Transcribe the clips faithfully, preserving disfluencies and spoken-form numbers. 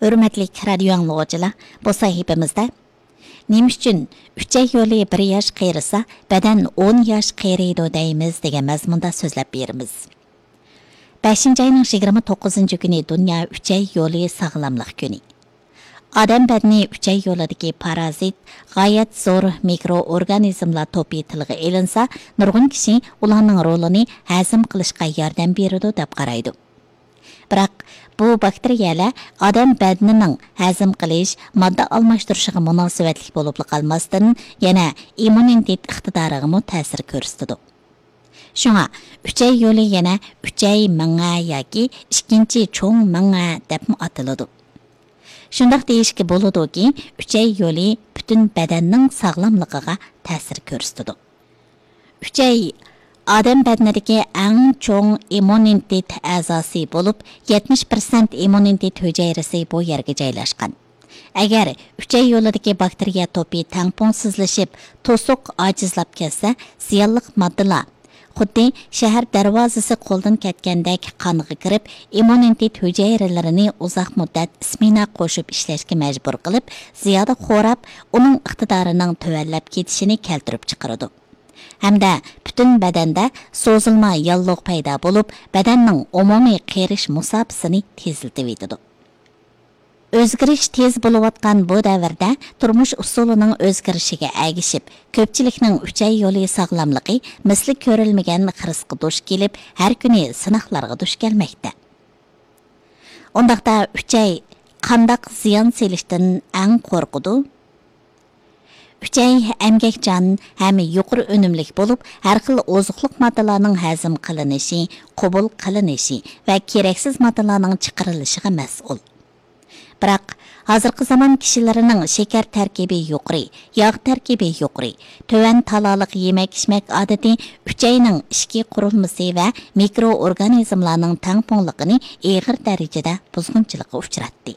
ھۆرمەتلىك رادىيو ئاڭلىغۇچىلار، بۇ سەھىپىمىزدە نېمە ئۈچۈن ئۈچەي يولى بىر ياش قېرىسا، بەدەن ئون ياش قېرىيدۇ دەيمىز دېگەن مەزمۇندا سۆزلەپ بېرىمىز. بەشىنچى ئاينىڭ يىگىرمە توققۇزىنچى كۈنى دۇنيا ئۈچەي يولى ساغلاملىق كۈنى. ئادەم بەدىنى ئۈچەي يولىدىكى پارازىت، غايەت زور مىكرو ئورگانىزملار توپى تىلغا ئېلىنسا، نۇرغۇن كىشى ئۇلارنىڭ رولىنى ھەزىم قىلىشقا ياردەم بېرىدۇ دەپ قارايدۇ. بىراق، بۇ باكتېرىيەلەر ئادەم بەدىنىنىڭ ھەزىم قىلىش، ماددا ئالماشتۇرۇشىغا مۇناسىۋەتلىك بولۇپلا قالماستىن، يەنە ئىممۇنىتېت ئىقتىدارىغىمۇ تەسىر كۆرسىتىدۇ. شۇڭا، ئۈچەي يولى يەنە ئۈچەي مېڭە ياكى ئىككىنچى چوڭ مېڭە دەپمۇ ئاتىلىدۇ. شۇنداق دېيىشكە بولىدۇكى، ئۈچەي يولى پۈتۈن بەدەننىڭ ساغلاملىقىغا تەسىر كۆرسىتىدۇ. ئۈچەي ئادەم بەدىنىدىكى ئەڭ چوڭ ئىممۇنىتېت ئەزاسى بولۇپ، يەتمىش پىرسەنت ئىممۇنىتېت ھۈجەيرىسى بۇ يەرگە جايلاشقان. ئەگەر ئۈچەي يولىدىكى باكتېرىيە توپى تەڭپۇڭسىزلىشىپ، توسۇق ئاجىزلاپ كەتسە، زىيانلىق ماددىلار خۇددى شەھەر دەرۋازىسى قولدىن كەتكەندەك قانغا كىرىپ، ئىممۇنىتېت ھۈجەيرىلىرىنى ئۇزاق مۇددەت ئىسمېنا قوشۇپ ئىشلەشكە مەجبۇر قىلىپ، زىيادە خوراپ، ئۇنىڭ ئىقتىدارىنىڭ تۆۋەنلەپ كېتىشىنى كەلتۈرۈپ چىقىرىدۇ. ھەمدە پۈتۈن بەدەندە سوزۇلما ياللۇغ پەيدا بولۇپ، بەدەننىڭ ئومۇمىي قېرىش مۇساپىسىنى تېزلىتىۋېتىدۇ. ئۆزگىرىش تېز بولۇۋاتقان بۇ دەۋردە تۇرمۇش ئۇسۇلىنىڭ ئۆزگىرىشىگە ئەگىشىپ، كۆپچىلىكنىڭ ئۈچەي يولى ساغلاملىقى مىسلى كۆرۈلمىگەن خىرىسقا دۇچ كېلىپ، ھەر كۈنى سىناقلارغا دۇچ كەلمەكتە. ئۇنداقتا ئۈچەي قانداق زىيان سېلىشتىن ئەڭ قورقىدۇ؟ ئۈچەي ئەمگەكچان ھەم يۇقىرى ئۈنۈملۈك بولۇپ، ھەر خىل ئوزۇقلۇق ماددىلارنىڭ ھەزىم قىلىنىشى، قوبۇل قىلىنىشى ۋە كېرەكسىز ماددىلارنىڭ چىقىرىلىشىغا مەسئۇل. بىراق، ھازىرقى زامان كىشىلىرىنىڭ شېكەر تەركىبى يۇقىرى، ياغ تەركىبى يۇقىرى، تۆۋەن تالالىق يېمەك-ئىچمەك ئادىتى ئۈچەينىڭ ئىچكى قۇرۇلمىسى ۋە مىكرو ئورگانىزملارنىڭ تەڭپۇڭلۇقىنى ئېغىر دەرىجىدە بۇزغۇنچىلىققا ئۇچراتتى.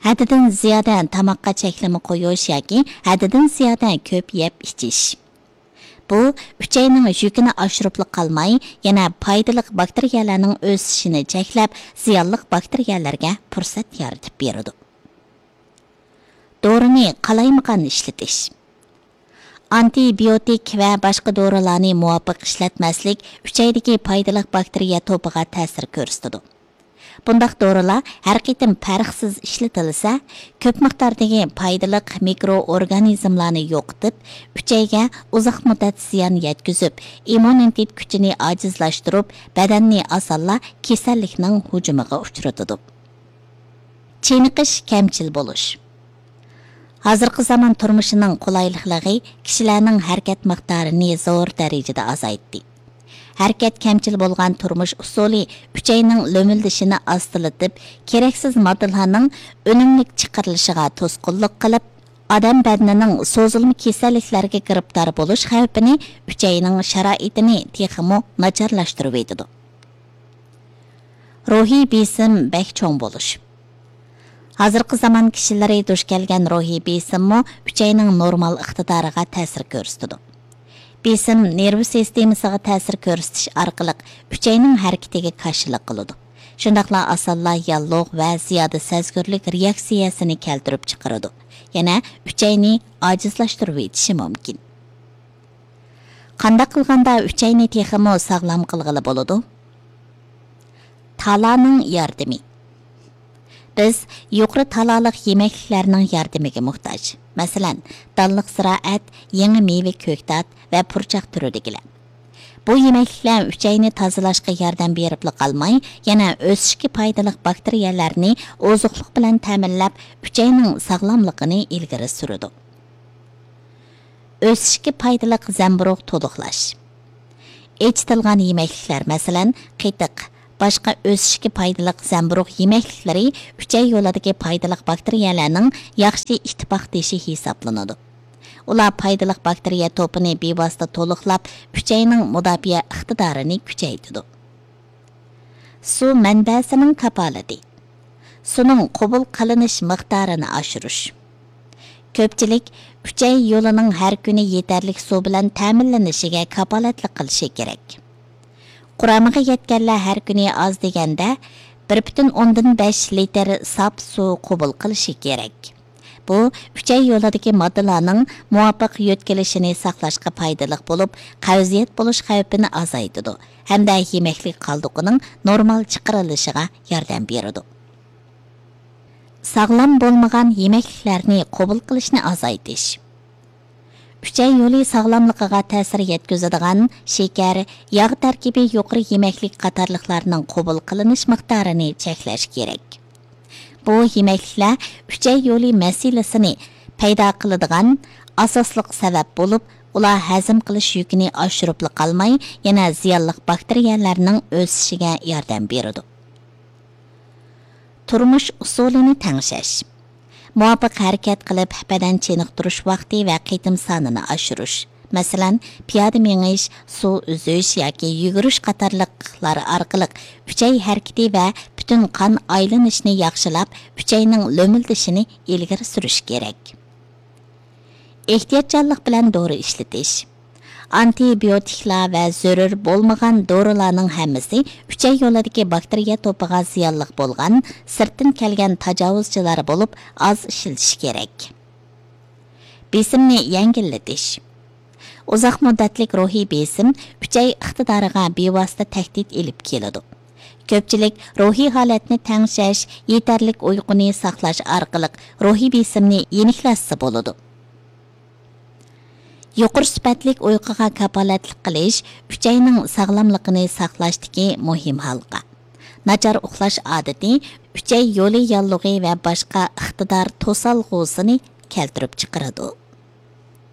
ھەددىدىن زىيادە تاماققا چەكلىمە قويۇش ياكى ھەددىدىن زىيادە كۆپ يەپ ئىچىش. بۇ ئۈچەينىڭ يۈكىنى ئاشۇرۇپلا قالماي، يەنە پايدىلىق باكتېرىيەلەرنىڭ ئۆسۈشىنى چەكلەپ، زىيانلىق باكتېرىيەلەرگە پۇرسەت يارىتىپ بېرىدۇ. دورىنى قالايمىقان ئىشلىتىش. ئانتىبىيوتىك ۋە باشقا دورىلارنى مۇۋاپىق ئىشلەتمەسلىك ئۈچەيدىكى پايدىلىق باكتېرىيە توپىغا تەسىر كۆرسىتىدۇ. بۇنداق دورىلار ھەر قېتىم پەرقسىز ئىشلىتىلسە، كۆپ مىقداردىكى پايدىلىق مىكرو ئورگانىزملارنى يوقىتىپ، ئۈچەيگە ئۇزاق مۇددەت زىيان يەتكۈزۈپ، ئىممۇنىتېت كۈچىنى ئاجىزلاشتۇرۇپ، بەدەننى ئاسانلا كېسەللىكنىڭ ھۇجۇمىغا ئۇچرىتىدۇ. چېنىقىش كەمچىل بولۇش. ھازىرقى زامان تۇرمۇشىنىڭ قولايلىقلىقى كىشىلەرنىڭ ھەرىكەت مىقدارىنى زور دەرىجىدە ئازايتتى. ھەرىكەت كەمچىل بولغان تۇرمۇش ئۇسۇلى ئۈچەينىڭ لۆمۈلدىشىنى ئاستىلىتىپ، كېرەكسىز ماددىلارنىڭ ئۈنۈملۈك چىقىرىلىشىغا توسقۇنلۇق قىلىپ، ئادەم بەدىنىنىڭ سوزۇلما كېسەللىكلەرگە گىرىپتار بولۇش خەۋپىنى، ئۈچەينىڭ شارائىتىنى تېخىمۇ ناچارلاشتۇرۇۋېتىدۇ. روھىي بېسىم بەك چوڭ بولۇش. ھازىرقى زامان كىشىلىرى دۇچ كەلگەن روھىي بېسىممۇ ئۈچەينىڭ نورمال ئىقتىدارىغا تەسىر كۆرسىتىدۇ. بېسىم نېرۋا سىستېمىسىغا تەسىر كۆرسىتىش ئارقىلىق ئۈچەينىڭ ھەرىكىتىگە كاشىلىق قىلىدۇ. شۇنداقلا ئاسانلا ياللۇغ ۋە زىيادە سەزگۈرلۈك رېئاكسىيەسىنى كەلتۈرۈپ چىقىرىدۇ. يەنە ئۈچەينى ئاجىزلاشتۇرۇۋېتىشى مۇمكىن. قانداق قىلغاندا ئۈچەينى تېخىمۇ ساغلام قىلغىلى بولىدۇ؟ تالانىڭ ياردىمى. بىز يۇقىرى تالالىق يېمەكلىكلەرنىڭ ياردىمىگە موھتاج. مەسىلەن، دانلىق زىرائەت، يېڭى مېۋە، كۆكتات ۋە پۇرچاق تۈرىدىكىلەر. بۇ يېمەكلىكلەر ئۈچەينى تازىلاشقا ياردەم بېرىپلا قالماي، يەنە ئۆسۈشكە پايدىلىق باكتېرىيەلەرنى ئوزۇقلۇق بىلەن تەمىنلەپ، ئۈچەينىڭ ساغلاملىقىنى ئىلگىرى سۈرىدۇ. ئۆسۈشكە پايدىلىق زەمبۇرۇغ تولۇقلاش. ئېچىتىلغان يېمەكلىكلەر، مەسىلەن، قېتىق، باشقا ئۆسۈشكە پايدىلىق زەمبۇرۇغ يېمەكلىكلىرى ئۈچەي يولىدىكى پايدىلىق باكتېرىيەلەرنىڭ ياخشى ئىتتىپاقدىشى ھېسابلىنىدۇ. ئۇلار پايدىلىق باكتېرىيە توپىنى بىۋاسىتە تولۇقلاپ، ئۈچەينىڭ مۇداپىئە ئىقتىدارىنى كۈچەيتىدۇ. سۇ مەنبەسىنىڭ كاپالىتى. سۇنىڭ قوبۇل قىلىنىش مىقدارىنى ئاشۇرۇش. كۆپچىلىك ئۈچەي يولىنىڭ ھەر كۈنى يېتەرلىك سۇ بىلەن تەمىنلىنىشىگە كاپالەتلىك قىلىشى كېرەك. قۇرامىغا يەتكەنلەر ھەر كۈنى ئاز دېگەندە بىر پۈتۈن ئوندىن بەش لىتىر ساپ سۇ قوبۇل قىلىشى كېرەك. بۇ ئۈچەي يولىدىكى ماددىلارنىڭ مۇۋاپىق يۆتكىلىشىنى ساقلاشقا پايدىلىق بولۇپ، قەۋزىيەت بولۇش خەۋپىنى ئازايتىدۇ ھەمدە يېمەكلىك قالدۇقىنىڭ نورمال چىقىرىلىشىغا ياردەم بېرىدۇ. ساغلام بولمىغان يېمەكلىكلەرنى قوبۇل قىلىشنى ئازايتىش. ئۈچەي يولى ساغلاملىقىغا تەسىر يەتكۈزىدىغان شېكەر، ياغ تەركىبى يۇقىرى يېمەكلىك قاتارلىقلارنىڭ قوبۇل قىلىنىش مىقدارىنى چەكلەش كېرەك. بۇ يېمەكلىكلەر ئۈچەي يولى مەسىلىسىنى پەيدا قىلىدىغان ئاساسلىق سەۋەب بولۇپ، ئۇلار ھەزىم قىلىش يۈكىنى ئاشۇرۇپلا قالماي، يەنە زىيانلىق باكتېرىيەلەرنىڭ ئۆسۈشىگە ياردەم بېرىدۇ. تۇرمۇش ئۇسۇلىنى تەڭشەش. مۇۋاپىق ھەرىكەت قىلىپ، بەدەن چېنىقتۇرۇش ۋاقتى ۋە قېتىم سانىنى ئاشۇرۇش. مەسىلەن، پىيادە مېڭىش، سۇ ئۈزۈش ياكى يۈگۈرۈش قاتارلىقلار ئارقىلىق ئۈچەي ھەرىكىتى ۋە پۈتۈن قان ئايلىنىشىنى ياخشىلاپ، ئۈچەينىڭ لۆمۈلدىشىنى ئىلگىرى سۈرۈش كېرەك. ئېھتىياتچانلىق بىلەن دورا ئىشلىتىش. ئانتىبىيوتىكلار ۋە زۆرۈر بولمىغان دورىلارنىڭ ھەممىسى ئۈچەي يولىدىكى باكتېرىيە توپىغا زىيانلىق بولغان سىرتتىن كەلگەن تاجاۋۇزچىلار بولۇپ، ئاز ئىشلىتىش كېرەك. بېسىمنى يەڭگىللىتىش. ئۇزاق مۇددەتلىك روھىي بېسىم ئۈچەي ئىقتىدارىغا بىۋاسىتە تەھدىت ئېلىپ كېلىدۇ. كۆپچىلىك روھىي ھالەتنى تەڭشەش، يېتەرلىك ئۇيقۇنى ساقلاش ئارقىلىق روھىي بېسىمنى يېنىكلەتسە بولىدۇ. يۇقىرى سۈپەتلىك ئۇيقۇغا كاپالەتلىك قىلىش ئۈچەينىڭ ساغلاملىقىنى ساقلاشتىكى مۇھىم ھالقا. ناچار ئۇخلاش ئادىتى ئۈچەي يولى ياللۇغى ۋە باشقا ئىقتىدار توسالغۇسىنى كەلتۈرۈپ چىقىرىدۇ.